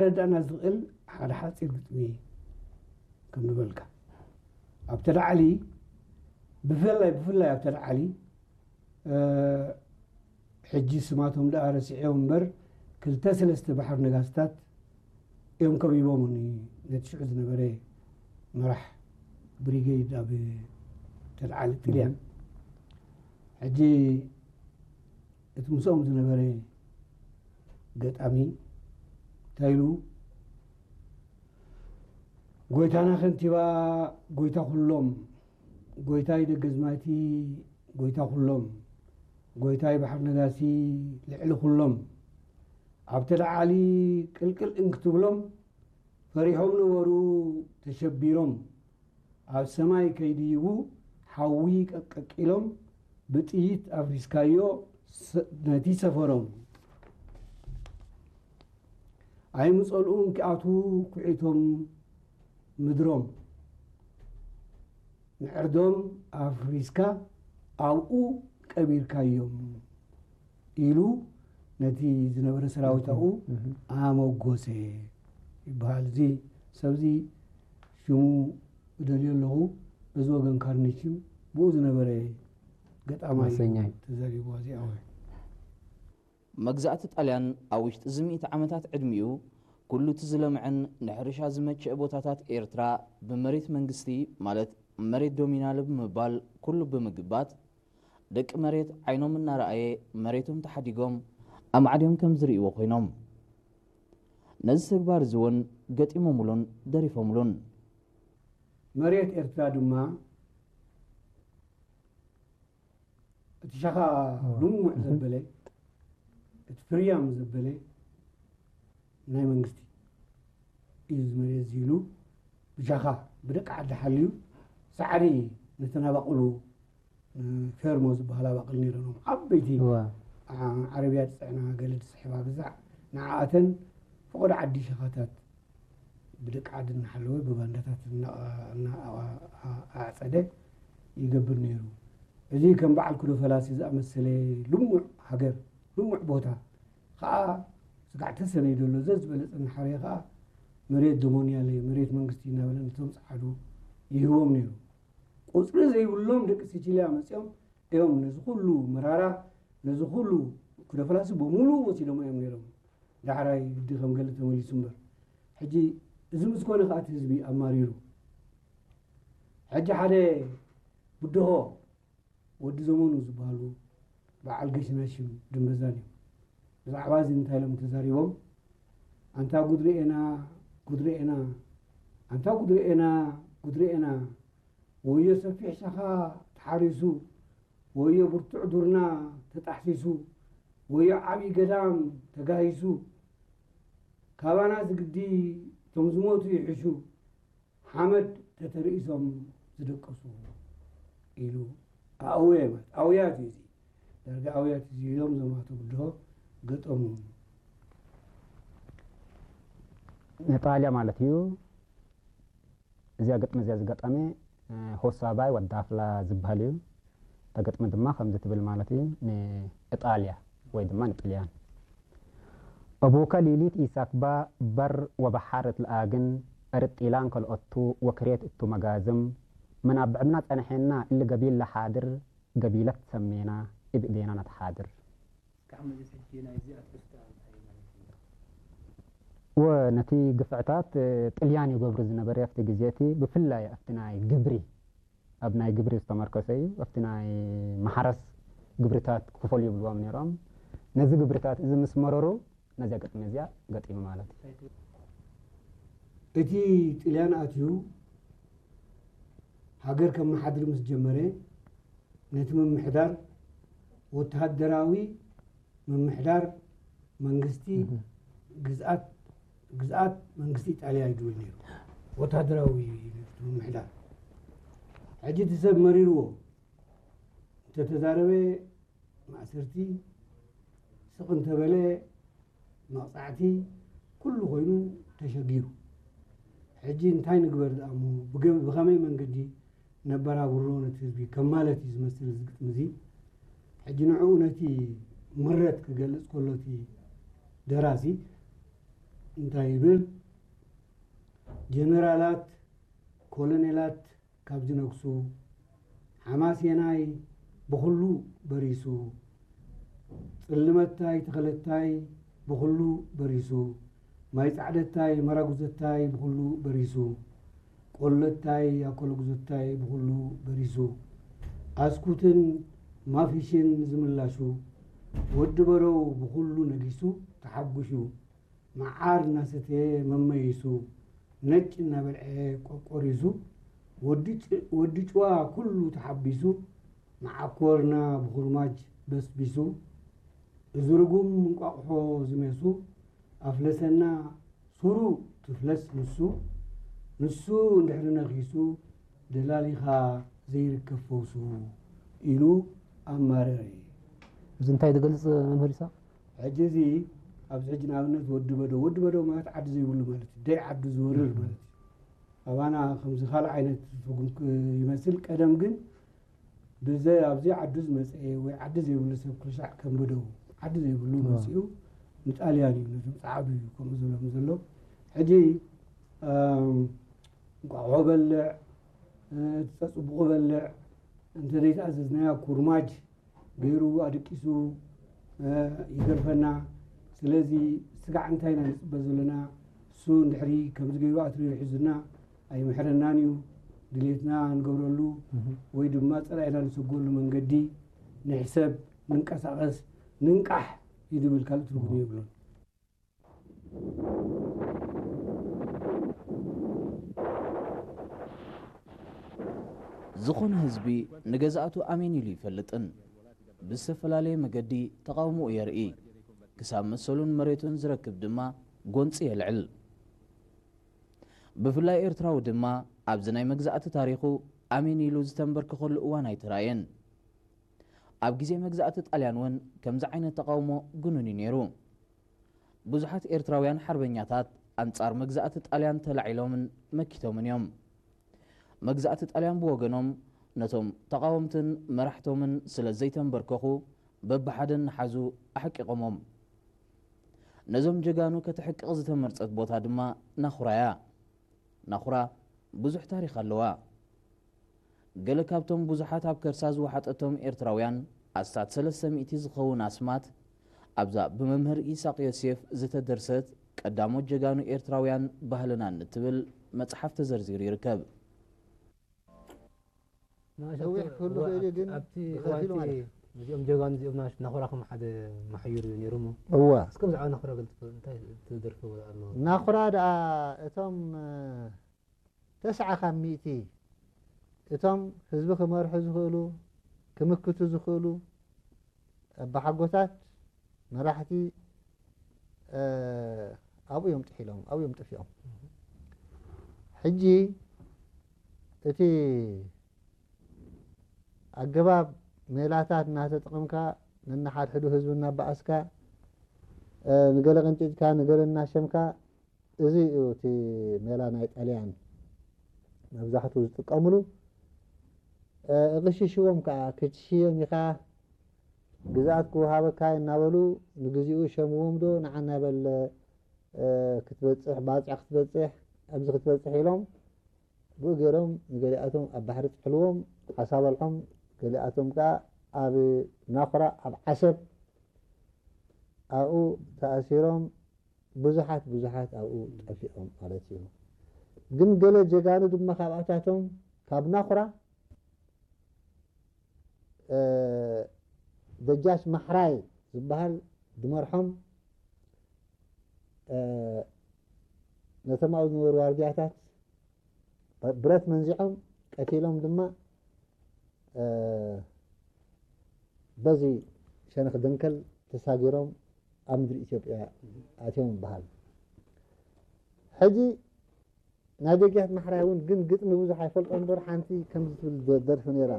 ረዳእና ዝኽእል ሓደ ሓፂር ግጥሚ ከም ዝበልካ ኣብቲ ላዕሊ ብፍላይ ብፍላይ ኣብቲ ላዕሊ ሕጂ ስማቶም ደኣ ረሲዐዮም እምበር ክልተ ሰለስተ ባሕር ነጋስታት እዮም ከቢቦምኒ ነቲ ሽዑ ዝነበረ መራሕ ብሪጌድ ኣብ ተልዓሊ ጥልያን ሕጂ እቲ ምስኦም ዝነበረ ገጣሚ እንታይ ኢሉ ጎይታና ከንቲባ ጎይታ ኩሎም ጎይታይ ደገዝማቲ ጎይታ ኩሎም ጎይታይ ባሕር ነጋሲ ልዕሊ ኩሎም ኣብቲ ላዓሊ ቅልቅል እንክትብሎም ፈሪሖም ነበሩ ተሸቢሮም ኣብ ሰማይ ከይድይቡ ሓዊ ቀቀቂሎም ብጥይት ኣፍሪስካዮ ነቲ ሰፈሮም ኣይምጸልኡን ክኣትዉ ኩዒቶም ምድሮም ምዕርዶም ኣፍሪስካ ኣብኡ ቀቢርካዮም ኢሉ ነቲ ዝነበረ ሰራዊት ኣብኡ ኣመጎሰ ይበሃል። እዚ ሰብዚ ሽሙ እደልዮ ኣለኹ። እዚ ወገን ካርኒችም ብኡ ዝነበረ ገጣማይ ተዛሪብዋ እዚኣ ወይ መግዛእቲ ጣልያን ኣብ ውሽጢ እዚ ሚእቲ ዓመታት ዕድሚኡ ኩሉ እቲ ዝለምዐን ንሕርሻ ዝመቸእ ቦታታት ኤርትራ ብመሬት መንግስቲ ማለት መሬት ዶሚናል ብምባል ኩሉ ብምግባት ደቂ መሬት ዓይኖም እናረኣየ መሬቶም ተሓዲጎም ኣማዕድዮም ከም ዝርእይዎ ኮይኖም ነዚ ተግባር እዚ እውን ገጢሞምሉን ደሪፎምሉን። መሬት ኤርትራ ድማ እቲ ሻኻ ልሙዕ ዘበለ እቲ ፍርያም ዘበለ ናይ መንግስቲ እዩ ዝመሬት እዚ ኢሉ ብሻኻ ብደቂ ዓዲ ሓልዩ ሳዕሪ ነተን ኣባቕሉ ፌርሞ ዝበሃል ኣባቕል ነይረኖም ዓበይቲ ዓረብያ ዝፅዕና ገለ ዝስሕባ ግዛዕ ንዓኣተን ፈቐዶ ዓዲ ሸኻታት ብደቂ ዓዲ እናሓለወ ብባንዳታት ኣዕፀደ ይገብር ነይሩ። እዚ ከም በዓል ኩዶ ፈላሲ ዝኣመሰለ ልሙዕ ሃገር ልሙዕ ቦታ ከዓ ስጋዕ ተሰነይ ዘሎ ዘዝበለፀ እናሓረየ ከዓ መሬት ዶሞንያለ መሬት መንግስቲ እናበለ ነቶም ፀዓዱ ይህቦም ነይሩ። ቁፅሪ ዘይብሎም ደቂ ሲቺልያ መፅኦም እዮም ነዚ ኩሉ መራራ ነዚ ኩሉ ኩዶ ፈላሲ በሙሉ ወሲዶም እዮም ነይሮም። ዳሕራይ ግዲ ከም ገለ ተመሊሱ እምበር ሕጂ እዚ ምስ ኮነ ከኣ እቲ ህዝቢ ኣማሪሩ ሕጂ ሓደ ብድሆ ወዲ ዘመኑ ዝበሃሉ በዓል ገሽናሽም ድንበዛን እዮም ብዛዕባ እዚ እንታይ ኢሎም ተዛሪቦም ኣንታ ጉድርኤና ጉድርኤና ኣንታ ጉድርኤና ጉድርኤና ወዮ ሰፊሕ ሻኻ ተሓሪሱ ወዮ ብርቱዕ ዱርና ተጣሕሲሱ ወዮ ዓብዪ ገዳም ተጋሂሱ ካባና ዝግዲ እቶም ዝሞቱ ይሕሹ ሓመድ ተተርኢሶም ዝደቀሱ ኢሉ ኣእውየ ማለት ኣውያት እዩ እዚ ዳርጋ ኣውያት እዚ ኢሎም ዘማቱ ብድሆ ገጠሙ ንጣልያ ማለት እዩ እዚኣ ግጥሚ እዚኣ ዝገጠመ ሆሳባይ ወዳፍላ ዝበሃል እዩ ተገጥመ ድማ ከምዚ ትብል ማለት እዩ ንእጣልያ ወይ ድማ ንጥልያን أبوك ليليت إيساكبا بر وبحارة الآجن أرد إيلان كالأتو وكريت أتو مجازم من أبعدنا تنحينا اللي قبيل لحاضر قبيلة سمينا إبئدينا نتحاضر ወነቲ ግፍዕታት ጥልያን ይገብሩ ዝነበረ ኣብቲ ግዜ እቲ ብፍላይ ኣብቲ ናይ ግብሪ ኣብ ናይ ግብሪ ዝተመርከሰ እዩ ኣብቲ ናይ ማሕረስ ግብርታት ክፈሉ ይብልዎም ነይሮም ነዚ ግብርታት እዚ ምስ መረሩ ነዚያ ግጥሚ እዚኣ ገጢሙ ማለት እዩ እቲ ጥልያን ኣትዩ ሃገር ከመሓድር ምስ ጀመረ ነቲ ምምሕዳር ወተሃደራዊ ምምሕዳር መንግስቲ ግዝኣት ግዝኣት መንግስቲ ኢጣልያ እዩ ዝብል ነይሩ ወታደራዊ ምምሕዳር ሕጂ እቲ ሰብ መሪርዎ እንተተዛረበ ማእሰርቲ ስቕ እንተበለ መቕፃዕቲ ኩሉ ኮይኑ ተሸጊሩ ሕጂ እንታይ ንግበር ዝኣሞ ብኸመይ መንገዲ ነበራብሮ ነቲ ህዝቢ ከም ማለት እዩ ዝመስል እዚ ግጥሚ እዚ ሕጂ ንዕኡ ነቲ ምረት ክገልፅ ከሎ እቲ ደራሲ እንታይ ይብል? ጀነራላት፣ ኮሎኔላት ካብ ዝነግሱ፣ ሓማሴናይ ብኹሉ በሪሱ፣ ጽልመታይ ተኸለታይ ብኹሉ በሪሱ፣ ማይ ጻዕደታይ መራጉዘታይ ብኹሉ በሪሱ፣ ቆለታይ ኣኮለጉዘታይ ብኹሉ በሪሱ፣ ኣስኩትን ማፊሽን ዝምላሹ፣ ወዲ በረው ብኹሉ ነጊሱ ተሓጉሹ፣ መዓር እናሰተየ መመይሱ፣ ነጭ እናበልዐ ቆቆሪሱ፣ ወዲ ጭ-፣ ወዲ ጭዋ ኩሉ ተሓቢሱ፣ መዓኮርና ብኹርማጅ በስቢሱ፣ እዚ ርጉም እንቋቑሖ ዝሜሱ፣ ኣፍለሰና ሱሩ ትፍለስ ንሱ፣ ንሱ እንድሕሪ ነኺሱ፣ ደላሊኻ ዘይርከብ ፈውሱ ኢሉ ኣማረረ። እዚ እንታይ ዝገልጽ መምህር ይስሐቅ? ሕጂ እዚ ኣብዚ ሕጂ ንኣብነት ወዲ በዶ፣ ወዲ በዶ ማለት ዓዲ ዘይብሉ ማለት እዩ። ደይ ዓዱ ዝወርር ማለት እዩ። ኣባና ከምዚ ካልእ ዓይነት ትርጉም ክ-፣ ይመስል። ቀደም ግን ብዘይ ኣብዚ ዓዱ ዝመጸ ወይ ዓዲ ዘይብሉ ሰብ ክልሻዕ ከም በደው ዓዲ ዘይብሉ መጺኡ ንጣልያን እዩ፣ ነቶም ጸዓዱ እዩ ከምኡ ዝብሎም ዘሎ። ሕጂ፣ ኣም፣ እንቋቑሖ በልዕ፣ እ፣ ተጸጽቡቑ በልዕ፣ እንተ ዘይተኣዘዝናዮ ኩርማጅ ገይሩ ኣደቂሱ፣ እ፣ ይገርፈና። ስለዚ ስጋዕ እንታይ ኢና ንጽበ ዘለና? እሱ እንድሕሪ ከምዚ ገይሩ ኣትሪሩ ሒዙና ኣይምሕረናን እዩ። ድሌትና ንገብረሉ እህ። ወይ ድማ ጸላኢና ንሰጎሉ መንገዲ ንሕሰብ፣ ንንቀሳቐስ፣ ንንቃሕ እዩ ዝብል፣ ካልእ ትርጉም የብሉን። ዝኾነ ህዝቢ ንገዛእቱ ኣሜን ኢሉ ይፈልጥን ብዝተፈላለየ መገዲ ተቓውሞኡ የርኢ። ክሳብ መሰሉን መሬቱን ዝረክብ ድማ ጎንጺ የልዕል። ብፍላይ ኤርትራዊ ድማ ኣብዚ ናይ መግዛእቲ ታሪኹ ኣሜን ኢሉ ዝተንበርከኸሉ እዋን ኣይተራእየን። ኣብ ግዜ መግዛእቲ ጣልያን እውን ከምዚ ዓይነት ተቓውሞ ግኑን እዩ ነይሩ። ብዙሓት ኤርትራውያን ሓርበኛታት ኣንጻር መግዛእቲ ጣልያን ተላዒሎምን መኪቶምን እዮም። መግዛእቲ ጣልያን ብወገኖም ነቶም ተቓወምትን መራሕቶምን ስለ ዘይተንበርከኹ በብሓደ እናሓዙ ኣሕቂቖሞም። ነዞም ጀጋኑ ከተሕቅቕ ዝተመርጸት ቦታ ድማ ናኹራ እያ። ናኹራ ብዙሕ ታሪኽ ኣለዋ። ገለ ካብቶም ብዙሓት ኣብ ከርሳ ዝወሓጠቶም ኤርትራውያን ኣስታት ሰለስተ ሚእቲ ዝኸውን ኣስማት ኣብዛ ብመምህር ይስሐቅ ዮሴፍ ዝተደርሰት ቀዳሞት ጀጋኑ ኤርትራውያን ባህልናን እትብል መጽሓፍ ተዘርዚሩ ይርከብ። ነዊሕ ክህሉ እዋ፣ ክእል እዩ፣ ኣብቲ፣ ግን ኣብቲ እዋን ብኸፊሉ እቲ ማለት እዩ። እዚኦም ጀጋኑ እዚኦም ናሽ-፣ ናኹራ ከም ሓደ መሓዩር እዩ ነይሩ እሞ። እዋ። እስከ ብዛዕባ ናኹራ ገለ ትፈልጡ፣ እንታይ ትደርፎ ኣሎ? ናኹራ ደኣ እቶም፣ እ፣ ተስዓ ካብ ሚእቲ እቶም ህዝቢ ክመርሑ ዝኽእሉ፣ ክምክቱ ዝኽእሉ ኣባሓጎታት፣ መራሕቲ፣ እ፣ ኣብኡ እዮም ጥሒሎም፣ ኣብኡ እዮም ጠፊኦም። ሕጂ እቲ ኣገባብ ሜላታት እናተጠቐምካ ነንሓድሕዱ ህዝቢ እናበኣስካ፣ እ፣ ንገለ ቀንጢጥካ፣ ንገለ እናሸምካ፣ እዚ እዩ እቲ ሜላ ናይ ጣልያን መብዛሕትኡ ዝጥቀምሉ። እ፣ እቕሽሽዎም ከኣ፣ ክትሽየም ኢኻ፣ ግዝኣት ክወሃበካ እናበሉ ንግዚኡ ሸምዎም ዶ ንዓና በለ፣ እ፣ ክትበጽሕ፣ ባጽዕ ክትበጽሕ፣ ኣብዚ ክትበጽሕ ኢሎም ብኡ ገይሮም ንገሊኣቶም ኣብ ባሕሪ ጥሕልዎም፣ ዓሳ በልዖም፣ ገሊኣቶም ከኣ ኣብ ናኹራ፣ ኣብ ዓሰብ ኣብኡ ተኣሲሮም፣ ብዙሓት ብዙሓት ኣብኡ ጠፊኦም ማለት እዩ። ግን ገለ ጀጋኑ ድማ ካብኣታቶም ካብ ናኹራ፣ እ፣ ደጃች ማሕራይ ዝበሃል ዝመርሖም፣ እ፣ ነቶም ኣብኡ ዝነበሩ ዋርድያታት ብረት መንዚዖም ቀቲሎም ድማ፣ እ፣ በዚ ሸነኽ ደንከል ተሳጊሮም ኣብ ምድሪ ኢትዮጵያ ኣትዮም ይበሃል። ሕጂ ናይ ደጃች ማሕራይ እውን ግን ግጥሚ ብዙሕ ኣይፈልጦ እምበር ሓንቲ ከምዚ ትብል ደ-፣ ደርፊ ነይራ።